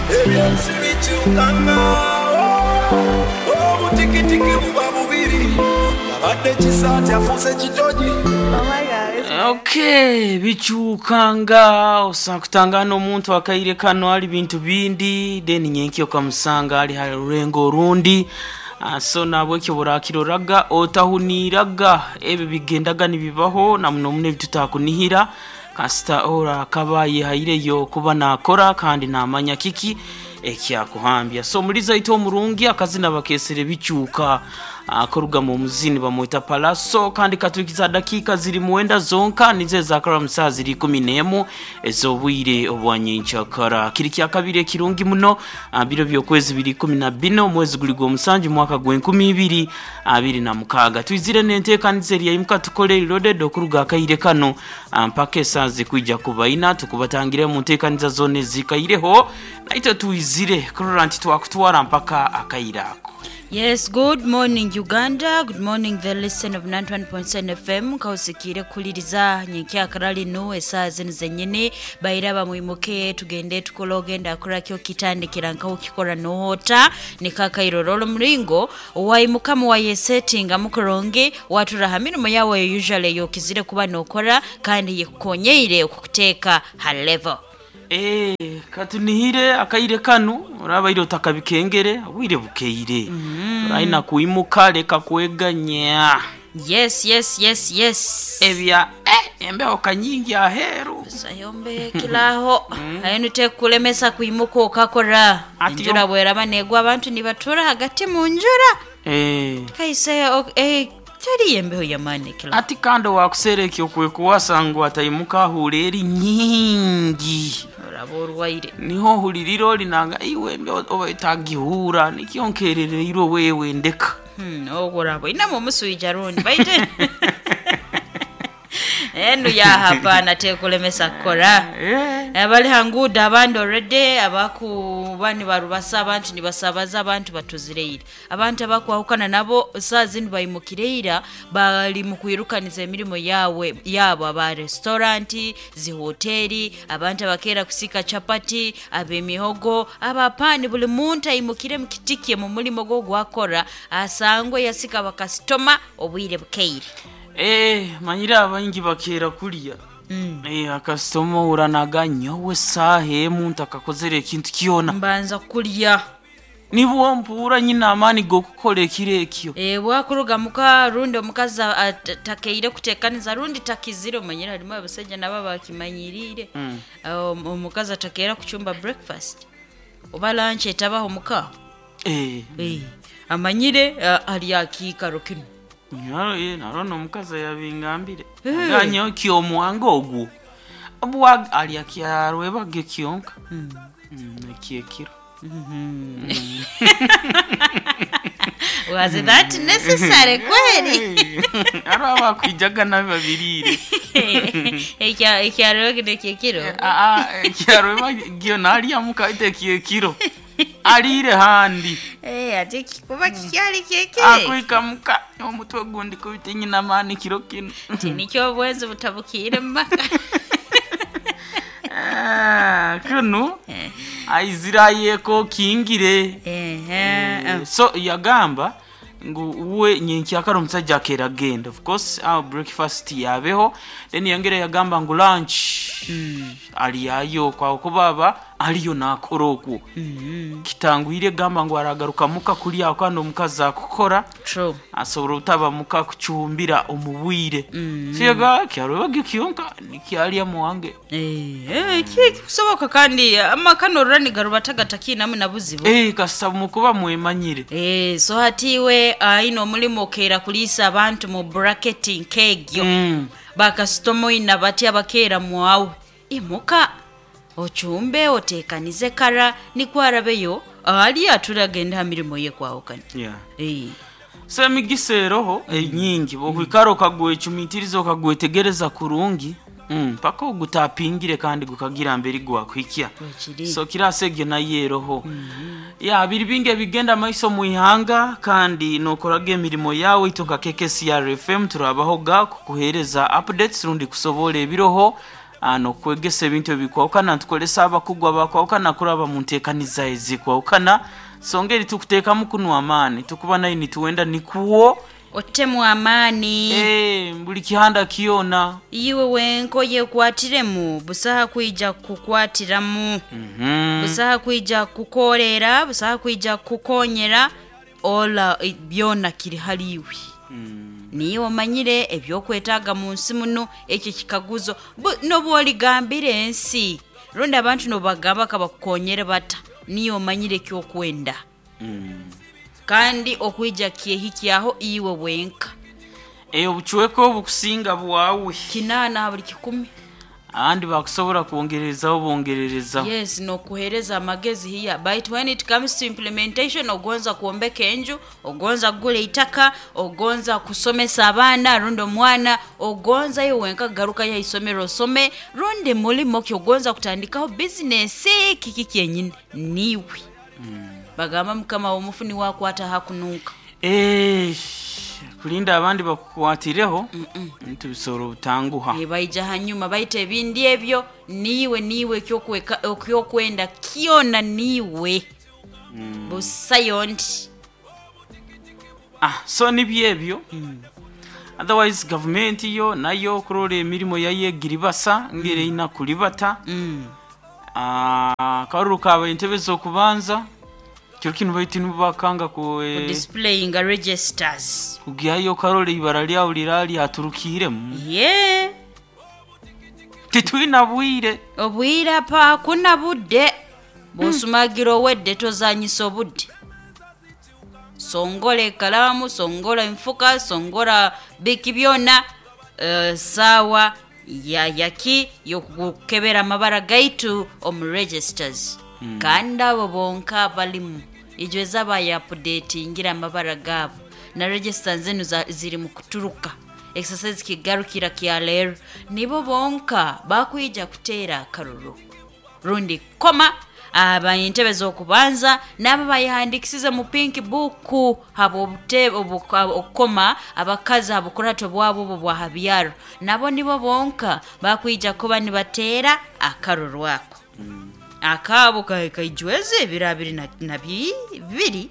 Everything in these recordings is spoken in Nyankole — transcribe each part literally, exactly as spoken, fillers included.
Ebyensi bikyukanga, obutikitiki buba bubiri, abadde kisaati afuuse kitogi. Oh my God, it's Okay, bikyukanga osanga kutangana omuntu akaire kano ali bintu bindi, then nyenkya okamusanga ali ha rurengo orundi. Ah, so nabwekyo burakiroraga otahuniraga ebyo bigendaga nibibaho na muno muno ebitutakunihira kasita ora akaba yehaireyo kuba nakora kandi namanya kiki ekyakuhambya. So muliza ito omurungi akazina bakesere bikyuka akoruga mu muzini bamwita Palaso, kandi katukiza dakika ziri muwenda zonka nize zakara musaa ziri ikumi n'emu ez'obwire obwanyenkyakara. Kiri kya kabiri ekirungi muno, ah, biro by'okwezi biri ikumi na bina omwezi guli gw'omusanju mwaka gw'enkumi ibiri abiri na mukaaga. Twizire n'enteekaniza eryayimuka tukole loaded okuruga akaire kano, ah, mpaka esaaha zikwija kubaina tukubatangire mu nteekaniza zoona ezikaireho, naitwe twizire kurora nti twakutwara mpaka akaire ako. Yes, good morning Uganda. Good morning the listen of ninety-one point seven F M. Kausikire kuliriza nyenkyakara lino esaaha zino zenyini bairaba mwimuke tugende tukole ogenda akorakyo kitandikira nkaho ukikora nohota nikakairororo muringo waimuka muwayesetinga mukuronge watura ha mirimo yawe usually yokizire kuba nokora kandi yekukonyeire okukuteeka ha level. Eh, katunihire akaire kano orabaire otakabikengere obwire bukeire mm. Oraina kuimuka leka kweganya. Yes, yes, yes, yes. Ebya eh, embeho kanyingi aheru. Sayombe kilaho ayo nitekulemesa kuimuka okakora. Ati enjura yo- bweraba negwa abantu nibatura hagati mu njura. eh, Kaise ok- eh, teri embeho yamani kilaho. Ati kandi wakusera ekyo kwekuwasa ngu ataimuka ahura eri nyingi. Oraba orwaire. Niho ohulirira olinanga iwe embeho oba etagihura nikyo nkerereirwe wewe ndeka. Hmm, ogwo oraba oinemu omuswija rundi baite enu yahapana tekulemesa kukora. eh. Abali hangudo abandi already abakuba nibarubasa abantu nibasabaza abantu batuzireire abantu abakwahukana nabo saa zinu baimukireira bali mu kwirukaniza emirimo yawe yabo, aba restauranti, zihoteri, abantu abakeera kusika chapati, ab'emihogo, abapani, buli muntu aimukire mukitikie mu mulimo gwo gwakora asangwe yasika bakasitoma obwire bukeire. Eh, manyire abaingi bakeera kulya mm. Eh, akasitoma uranaga nyowe saaha emu ntakakozere ekintu kyona. Mbanza kulya. Nibwo mpuura nyina amaani g'okukora ekiro ekyo. E, bwakuruga muka rundi omukazi a- a- takeire kutekaniza rundi takizire, omanyire harimu abasajja nabo bakimanyirire mm. Omukazi atakeera kucumba breakfast oba lunch etabaho muka. Eh, e, amanyire a- ali akiikaro kinu. Naro eh, naro omukazi yabingambire ganyo kyomwanga ogwo bwa alya kyarwebage kyonka mm. Ekyekiro. Was that necessary kweli? Aro abakwijaga nabi babirire. Ekya- ekyarwebage nekyekiro. Kyarwebagyo nalya mukaite kyekiro alire handi. Eh, ate kikuba kikyali kyekiro. Akwika muka omutwe gundi kubita nyina maani kiro kino. Ti nikyo obwenzi butabukiire mu maka. Ah, kuno aizirayeko kingire. Ehe. So yagamba ngu we nyenkyakara omusajja akeera agenda, of course our breakfast yabeho, then yongera yagamba ngu lunch aliyayo kwawe kubaba aliyo nakora okwo kitangwire gamba ngu aragaruka muka kulya kandi omukazi akukora True. asobora obutaba muka kucumbira omu bwire mm. So yaga kyarwebagyo kyonka nikyalya muwange. Eh, eh, ki- kusoboka kandi amaka norora nigaruba tagatakiinamu na buzibu. Eh, kasita mukuba mwemanyire. Eh, so hatiwe aine omulimu okeera kuliisa abantu mu bracket nk'egyo mm. bakasitoma oina bati abakeera mwawe imuka ochumbe oteekanize kara nikwo arabeyo ali aturagenda ha mirimo ye kwahukana. Yeah. Eh. So emigisa eroho enyingi bwokwikara okagwecumitiriza okagwetegereza kurungi mm, paka ogutapingire kandi gukagira mberi gwakuhikya. Bwekiri. So kirasa egyo nayo eroho ya biri bingi ebigenda maiso muihanga kandi nokoraga emirimo yawe itwe nka K K C R F M turabahoga kukuhereza updates rundi kusobola ebiroho. ah, nokwegesa ebintu ebikwawukana, ntukolesa abakugu abakwawukana kuraba mu nteekaniza ezikwawukana. Songa eri tukuteekamu kunwa amaani, tukuba nayo nituwenda nikuwo Otemu amaani. Eh, buli kihanda kyona. Iwe wenko yekwatiremu, busaha kwija kukwatiramu. Mhm. Busaha kwija kukorera, busaha kwija kukonyera, ola eh, byona kiri haliwe. Niwe omanyire ebyokwetaaga mu nsi muno, ekyo kikaguzo. Bu- N'obu oligambira ensi, rundi abantu nobagamba kabakukonyere bata, niwe omanyire ekyokwenda. Kandi okwija kyehikyaho iwe wenka. Eh, obucweka obukusinga bwawe. Kinaana ha buli kikumi. Abandi bakusobola kwongerezaho bongererezaho. Yes, nokuhereza amagezi hiya, but when it comes to implementation, ogonza kuombeka enju, ogonza kugula itaka, ogonza kusomesa abaana rundi omwana, ogonza iwe wenka garuka ya isomero osome, rundi mulimo ki ogonza kutandikaho bizinesi, kiki kyenyini niwe. Bagamba mukama w'omufu niwe akwata hakununka. Eh, kulinda abandi bakukwatireho ntubisobola obutanguha. Eh, baija hanyuma baita ebindi ebyo niwe niwe ekyokweka ekyokwenda kyona niwe. Busayo nti Ah, so nibyo ebyo. Otherwise gavumenti yo nayo okurora emirimu yayo egiribasa ngeri erina kulibata. Ah, akaruru kaaba entebe z'okubanza kiro kinu baitu nibakanga ku eh, displaying registers. kugyayo okarora ibara lyawe liralyaturukiiremu. Ye. Titwina bwire. Obwire apa hakuna budde, bw'osumagira owedde tozanyisa obudde. Songola ekalaamu, songola enfuka, songola biki byona. eh, saawa ya yaki yokukebera amabara gaitu omu registers. Kandi abo bonka balimu ijweza bayapudetingira amabara gaabo na register zenu za- ziri mu kuturuka. Exercise kigarukira kya leero, nibo bonka bakwija kuteera akaruru rundi koma aba entebe z'okubanza n'abo bayihandikisize mu pink book habw'obute okukoma abakazi habukurato bwabo obwo bwa habyaro, nabo nibo bonka bakwija kuba nibateera akaruru ako. Akaabo ka- kaijweza ebiro abiri na- na bibiri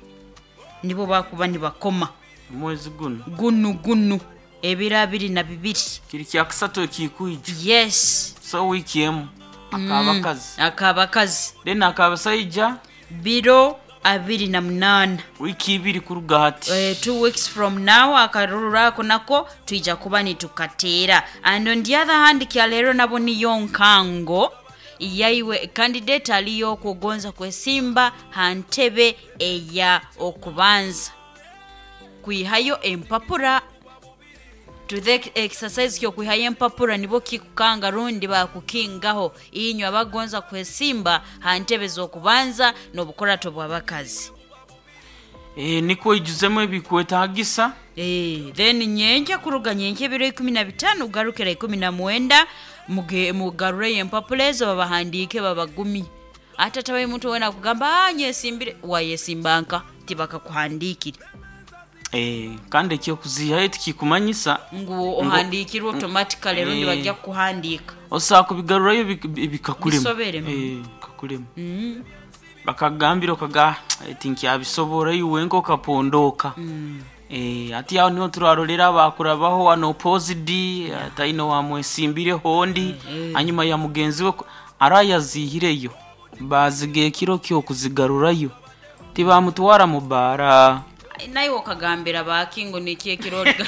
nibo bakuba nibakoma. Omwezi guno. Gunu gunu ebiro abiri na bibiri. Kiri kyakusatu ekikwija. Yes. So wiiki emu akabakazi, Akabakazi. then akabasaija Biro abiri na munaana. Wiiki ibiri kuruga hati. Uh, two weeks from now akaruru ako nako twija kuba nitukateera. And on the other hand, kyaleero nabo niyo nkango yaiwe candidate aliyo okugonza kwesimba ha ntebe eya okubanza kwihayo empapura. To the exercise kyokwihayo empapura nibo kikukanga rundi bakukingaho inywe abagonza kwesimba ha ntebe z'okubanza n'obukurato bw'abakazi. Eh, nikwo ijuzemu ebikwetagisa. Eh, then nyenkya kuruga nyenkya ebiro ikumi na bitaano kugarukira ikumi na mwenda, muge- mugarureyo empapura ezo babahandiike babagumye. Ate atabayo omuntu wena akugamba, "Ah, nyesimbire," wayesimba nka tibakakuhandiikire. Eh, kandi ekyokuzihayo tikikumanyisa Ngu ohandiikirwe automatically rundi Eh. bajja kukuhandiika. Osobola kubigarurayo bik- bikakulema. Bisoberemu. Eh, bikakulema. Bakagambira okaga tinkyabisobora iwe nka okapondoka. Eh, ati aho niho turarolera bakurabaho wano opposed ataino wamwesimbireho ondi hanyuma ya mugenzi we ko- arayazihireyo baziga ekiro kyokuzigarurayo tibamutwara mu bara. Naye okagambira baki ngu niki ekiroriga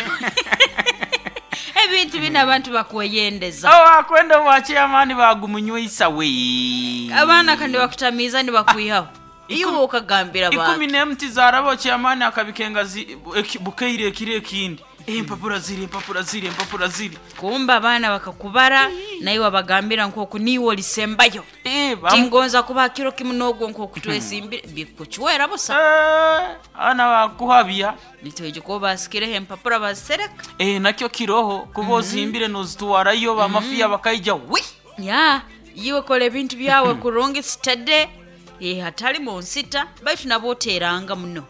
ebintu bino abantu bakweyendeza. Abakwenda bwa chairman bagumunywisa we. Abaana kandi bakutamiiza nibakwihaho, iwe okagambira Ikumi baki. n'emuti zaraba chairman akabikenga zi- eki- bukeire ekiro ekindi, empapura ziri, empapura ziri, empapura ziri. Kumba abaana bakakubara naye wabagambira nkoku niiwe olisembayo. Eh, bamu- Tingonza kuba kiro kimu n'ogwo nkoku twesimbire bikukiwera busa. Eh, abaana bakuhabya. Nitweje kuba basikireho empapura bazisereka. Eh, nakyo kiroho kuba ozimbire nozitwarayo bamafiya bakaija wi. Ya iwe kola ebintu byawe kurungi sitade, eh, hatali mu nsita baitu nabo oteeranga muno.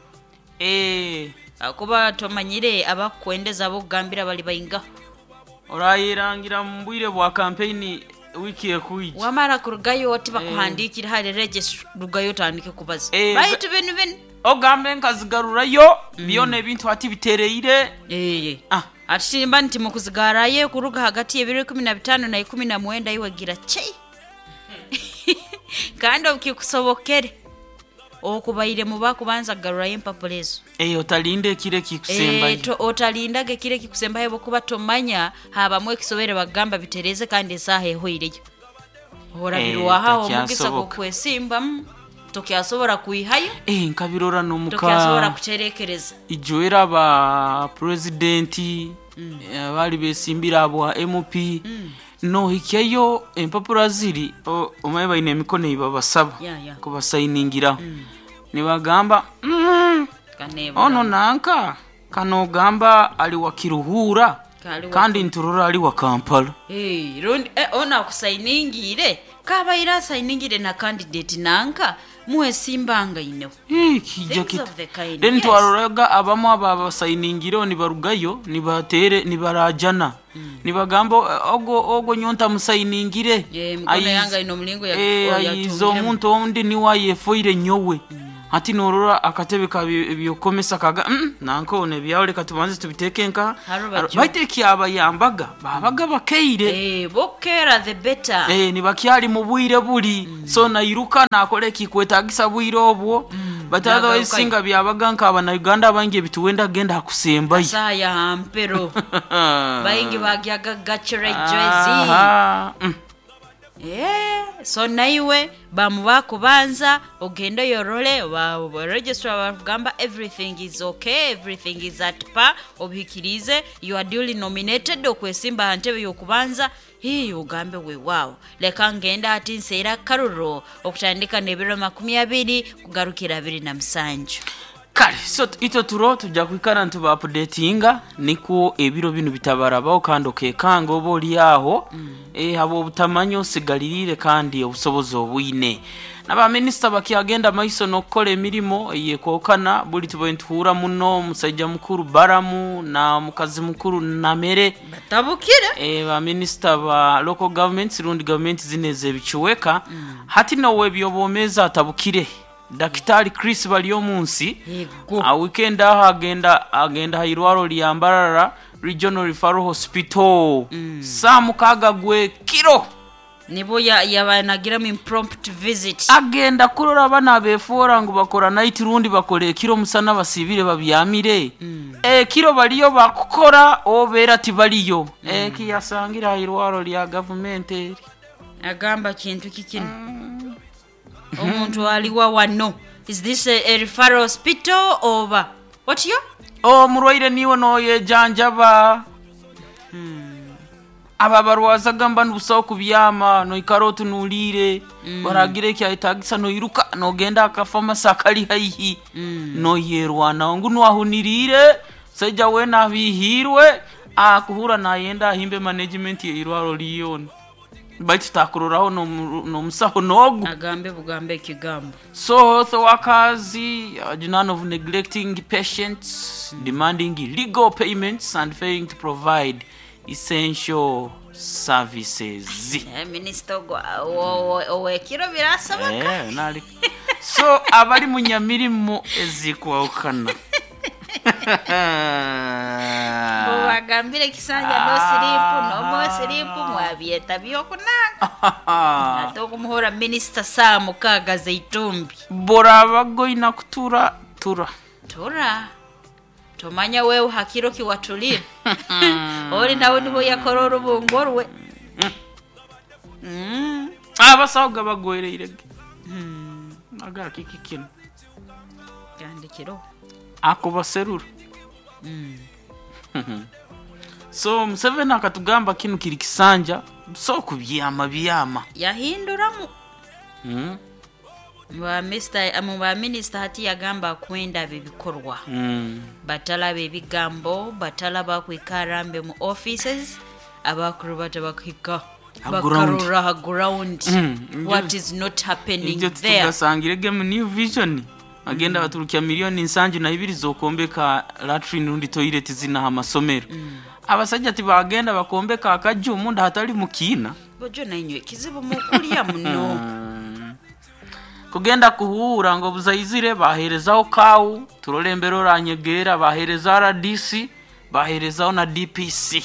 Eh, Kuba tomanyire abakukwendeza abokugambira bali baingaho. Orayerangira mu bwire bwa kampeyini. Wiki ekuija. Wamara kurugayo oti bakuhandikire hali register, rugayo otandike kubaza. Eh, Baitu binu binu. Ogambe nkazigarurayo byona ebintu ati bitereire. Eh. Ah. Ati nimba nti mukuzigarayo kuruga hagati y'ebiro ikumi na bitano na ikumi na mwenda iwe gira chei. Kandi obukikusobokere okubaire muba kubanza kugarurayo empapura ezo. Eh, otalinde ekiro ekikusembayo. Eh, to- otalindaga ekiro ekikusembayo bwokuba tomanya habamu ekisobere bagamba bitereze kandi esaaha ehweireyo. Orabirwaho omugisa takyasoboka. gw'okwesimbamu tokyasobora kwihayo. Eh, nkabirora n'omuka Tokyasobora kuterekereza. Ijwera ba purezidenti abaali besimbira abo M P nohikyayo empapura ziri o- omaye baine emikono ebabasaba Yeah, yeah. kubasayiningiraho nibagamba mm, Kanebura. ono nanka kanogamba ali wa Kiruhura Kali wa- kandi nturora ali wa Kampala. Hey, rundi eh, ono akusayiningire kabaire asayiningire na candidate nanka mwesimbanga ineho. Eh, kijja Things kita of the kind, then yes. twaroraga abamu aba basayiningireho nibarugayo nibatere nibarajana nibagamba ogo ogo nyonta musayiningire. Eh, mikono Ayiz- yange ino mulingo ya- eh, o- ayiza yatungiremu. omuntu ondi niwe ayefoire nyowe ati norora akatebe ka byokomesa kaga mm, nanka ono ebyawe reka tubanze tubiteeke nka Harubajo. baitu ekyabayambaga babaga bakeire. Eh, bokera the better. Eh, nibakyali mu bwire buli so nairuka nakola ekikwetagisa bwire obwo but otherwise Nagarukayo. singa byabaga nk'abanauganda abangi ebituwenda genda hakusembayo. Saha ya hampero baingi bagyaga gachere jersey. Aha, mm. Eh, so naiwe bamu bakubanza ogende yorole ba ba- registrar bakugamba everything is okay, everything is at par, obihikirize, you are duly nominated okwesimba aha ntebe y'okubanza. Hii ugambe weewaawo leka ngenda ati nseera karuro okutandika n'ebiro makumi abiri kugarukira abiri na musanju. Kale so t- itwe turo tujja kwikara nituba updatinga nikwo ebiro binu bitabarabaho kandi okekanga oba oli aho eh, haba obutamanya osigalirire kandi obusobozi obwine n'abaminisita bakyagenda maiso n'okukola emirimo eyekwokana buli tubaye nituhura muno omusajja mukuru Baramu na mukazi mukuru Namere. Batabukire. E, baminisita ba local governments rundi gavumenti zino ezebikiweka hati nowe ebyobwomeezi atabukire Dakitari Chris Baryomunsi. Yego. A weekend aho agenda agenda hairwaro lya Mbarara Regional Referral Hospital saa mukaaga gwe kiro Nibo ya- yabanagiramu impromptu visit. Agenda kurora abana abefoora ngu bakora night rundi bakora ekiro musana basibire babyamire ekiro baliyo bakukora obeera tibaliyo ekiyasangira hairwaro lya gavumenti eri. Agamba kintu kikino omuntu aliwa wano, is this a, a referral hospital oba otyo? Omurwaire niwe noyejanjaba aba barwaza gamba nibusaho kubyama noikara otunuliire baragira ekyayetagisa noiruka nogenda akafamasi akali haihi noyerwanaho ngu nwahuniriire saija wena abihiirwe akuhura nayenda ahimbe management yeirwaro liyona baitu takuroraho n'omu- n'omusaho nogu. Agambe bugambe ekigambo. So health workers uh, none of neglecting patients, demanding illegal payments and failing to provide essential services. Eh, minisita ogwo- owo- owo- owekiro birasabaka. Eh, nali- so abali mu nyamirimo ezikwawukana. Bwebagambire kisanja no siripu no more siripu mwabyeta byokunanga ate okumuhura minisita saa mukaaga zeitumbi. Boraba goina kutura tura. Tura tomanya wewe hakiro kiwatulire oli nawe nibo yakora orubungo rwe. Mm. Abasawo gabagwereirege agakiki kino. Gandikiro. Akubaserura so Museveni akatugamba kinu kiri kisanja so kubyama byama. Yahinduramu. Mm. Mu ba mu ba minisita hati yagamba kwenda bibikorwa. Mm. Batalaba ebigambo batalaba kwikarambe mu offices abakuru batabakuhika Ha ground. bakarora ha ground. Mm, What is not happening ibyo there? tugasangirege mu New Vision agenda baturukya miliyoni nsanju na ibiri zokombeka latrine rundi toilet zinaha amasomero abasajja tibagenda bakombeka akaju omunda hatali mukiina. Bojo nainywe kizibu mukulya muno. Kugenda kuhuura ngo buzaizire baherezaho kawu turore embere oranyegera, bahereza R D C, baherezaho na D P C.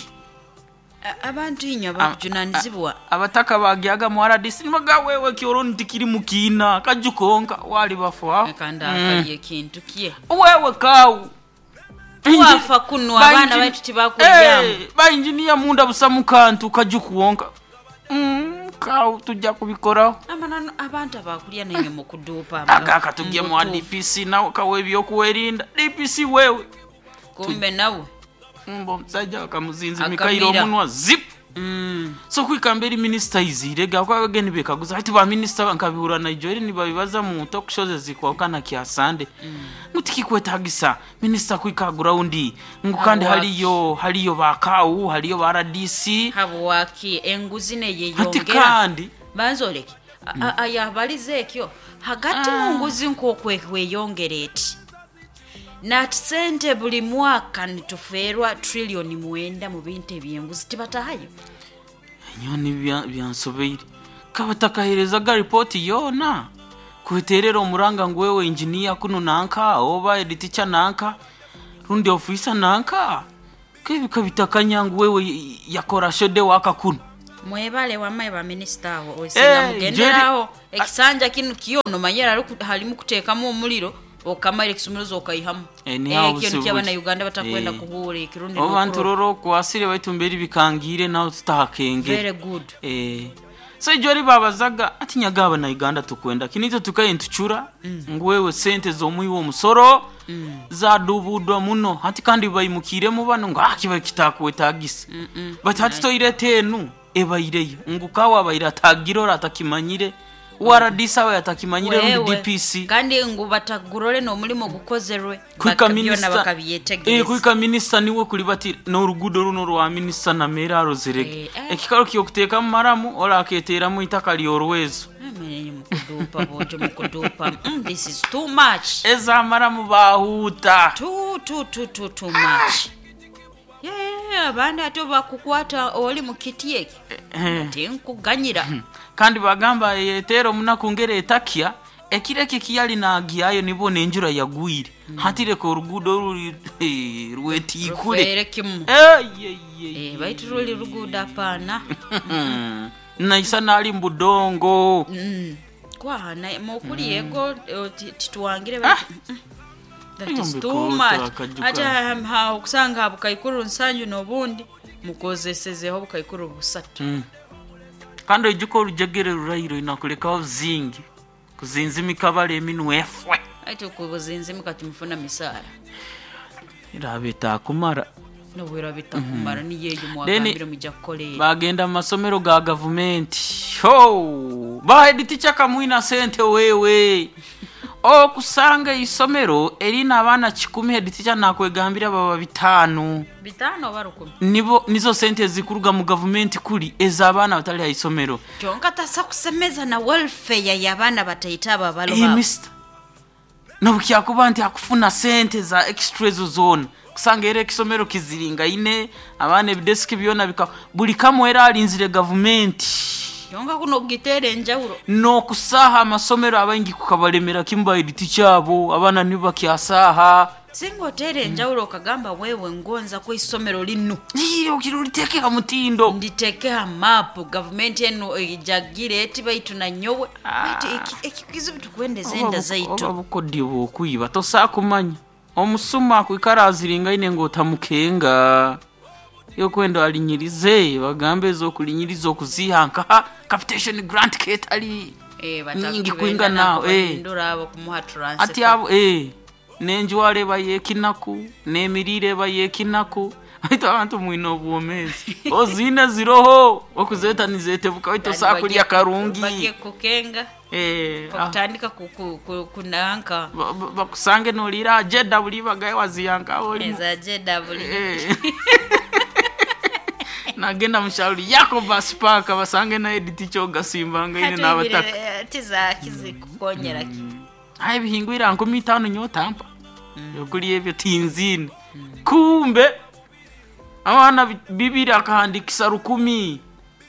A- abantu inywe bakujunanizibwa. Abataka bagyaga mu R D C nibaga wewe kioroni tikiri mukiina kajukonka wali bafaho. Kandi akaliye kintu kye. Wewe kawu. Wafa kuno abaana baitu tibakulyamu. Bainjiniya munda busa mukantu kajukuwonka. Mm, kawu tujja kubikoraho. Amanano abantu abakulya nainywe mukuduupa. Agaka tujye mu D P C nawe kawe ebyokuwerinda D P C wewe. Kumbe nawe. Mbo omusajja bakamuzinza emikairo Akamira. omunwa zip. Mm. So kwikamba eri minisita izire gakwabage nibekaguza hati ba minisita nkabihura Nigeria nibabibaza mu talk shows ezikwakana kya Sunday ngu tikikwetagisa minisita kwika ground ngu kandi Habwaki? haliyo haliyo ba kawu, haliyo ba R D C. Habwaki enguzi Hati neyeyongera? kandi Banzoleke ayabaliza ekyo hagati mu nguzi nk'okweyongera eti nati sente buli mwaka nitufeerwa triliyoni mwenda mu bintu ebyenguzi tibatahayo. Nyoni bya- byansobeire kabatakaherezaga ripoti yoona kweterera omuranga ngu wewe engineer kuno nanka oba editicha nanka rundi ofisa nanka kebika bitakanya ngu wewe yakora shode waka kuno. Mwebale wamaye baminisita aho Eh, osinga mugenderaho. Jerry- Ekisanja kinu kiyono manyera halimu kuteekamu omuliro okamara ekisumuluzo okaihamu. Eh, ni aho Ekyo buzibu nikyo buri. Abanauganda batakwenda Eh. kuhuura ekirundi Obantu n'okurora. roro okwasire baitu mberi bikangire naho tutahakengere. Very good. Eh, so ijori babazaga ati nyaga abana Uganda tukwenda kinito tukaye ntuchura ngu wewe sente z'omuwi w'omusoro zadubudwa muno, hati kandi bayimukiremu bano ngo ah kiba kitakwetagisa, but hati toirete enu ebaireyo ngu kawa abaire atagirora atakimanyire, R D C abaire atakimanyire rundi Wewe, D P C. Kandi ngu batagurore n'omulimu gukozerwe. Kwika Baka- byona minisita eh, bakabyetegereza. kwika minisita niwe kuli bati n'orugudo runo rwa minisita namera arozerege. Eh, eh. Ekikaro kyokuteekamu maramu oraketeeramu itaka lyorwezo. Amenye mukudupa bojo mukudupa. mm, this is too much. Ezamaramu bahuuta. Too too too too too much. Yeah, abandi ate bakukwata oli mu kiti eki tinkuganyira. Kandi bagamba yeteera omunaku ngeri etakya ekiro ekyo ekiyali nagyayo nibo nenjura yagwire hati reka orugudo ruri eh, rwetiikure. Rufeere kimu. Eh, ye, ye, Eh, baitu ruli rugudo apaana. naisa nali mbudongo. Mm. Kwahana mukuli yego eh, ti- tituwangire Ah. baitu mm, that is too Eyo much. mbikota, Ate um, ha okusanga bukaikuru nsanju n'obundi mukozesezeho bukaikuru busatu. Mm. Kandi oijuka orujegere rurairo inakulekaho zingi kuzinzimika bale eminwe efwe. Ate kubuzinzimuka timufuna misaara. Iraba etakumara. Nobwera bitakumara niyeyo Then, mwagambire mujja kukoleera. Bagenda mu masomero ga gavumenti ho bahediticha kamwina sente wewe okusanga isomero erina abaana kikumi, hediticha nakwegambira baba bitaano. Bitaano oba rukumi? Nibo nizo sente zikuruga mu gavumenti kuli ez'abaana batali ha isomero. Kyonka tasa kusemeza na welfare y'abaana bataita abo abalo Eh, baabo. Mister nobukyakuba nti akufuna sente za extra ezo zoona kusanga era ekisomero kiziringaine abaana ebidesiki byona bika buli kamwe era alinzire gavumenti. Kyonka kuno okugiteera enjawulo. N'okusaaha amasomero abaingi kukabalemera kimu baediti kyabo abaana nibo bakyasaha. Singa oteera enjawulo okagamba wewe ngonza ku isomero lino Okiro liteeke ha mutindo. Nditeeke ha maapu gavumenti eno ejagire eti baitu nanyowe baitu eki- ekikizibu tukwendeza enda Oba zaitu. bukodyo bwokwiba tosaa kumanya omusuma akwikara aziringaine ng'otamukenga yokwenda alinyirize bagambe ezokulinyiriza okuziha nkaha capitation grant ketali Eh, nyingi bataku- kwinga benda nawo, eh. nakubahindura abo kumuha transfer. Ati abo eh, nenjwara eba yekinaku n'emiriire eba yekinaku baitu abantu mwine obwomeezi oziine ziroho okuzeeta nizetebuka baitu Kandi osaa kulya bagiye- karungi. bagiye kukenga. Eh, ah, Okutandika ku- ku- ku- kunanka. ba- ba- bakusange noliira jeda buli bagaye waziyankawo olimu Eza J W. Eh. Nagenda mushauri yako basipaka basange na editi kyogasimbanga ine n'abataka. Tizakizikukonyera ki. Aye bihingwira nkumi itano nyotampa yokulya ebyo tinzine kumbe abaana bi- bibiri akahandikisa rukumi.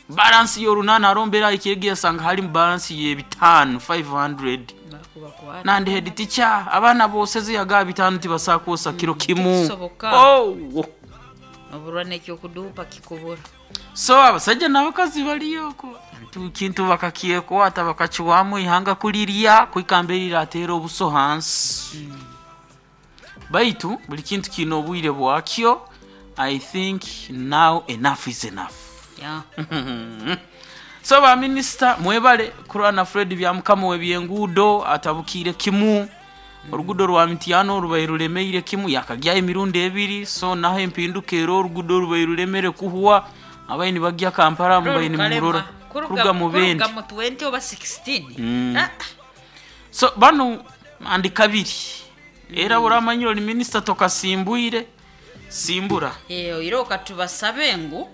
Balance y'orunaana arombera ikiregi yasanga halimu balance y'ebitaano five hundred. Bakubakwata. Nandi head teacher abaana booseze yagaa bitaano tibasakwosa kiro kimu. Tikisoboka. Oh. Oburwa nekyokudupa kikubura. So abasajja n'abakazi baliyoko kintu bakakyekwata bakakiwamu ihanga kulirya kwikamba erirateera obuso hansi, baitu buli kintu kiine obwire bwakyo. I think now enough is enough. Yeah. So baminisita mwebale kurwana. Fred Byamukama w'ebyenguudo atabukiire kimu oluguudo rwa Mityano rubaire rulemeire kimu yakagyayo emirundi ebiri. So naho empinduka era oluguudo rubaire rulemere kuhwa abaini bagya Kampala mubaine nimurora kuruga mu bendi. Kuruga mu twenty oba sixteen. Mm. Ah, so bano andi kabiri era buramanyire oli minisita tokasimbwire simbura. Eh, oire okatubasabe ngu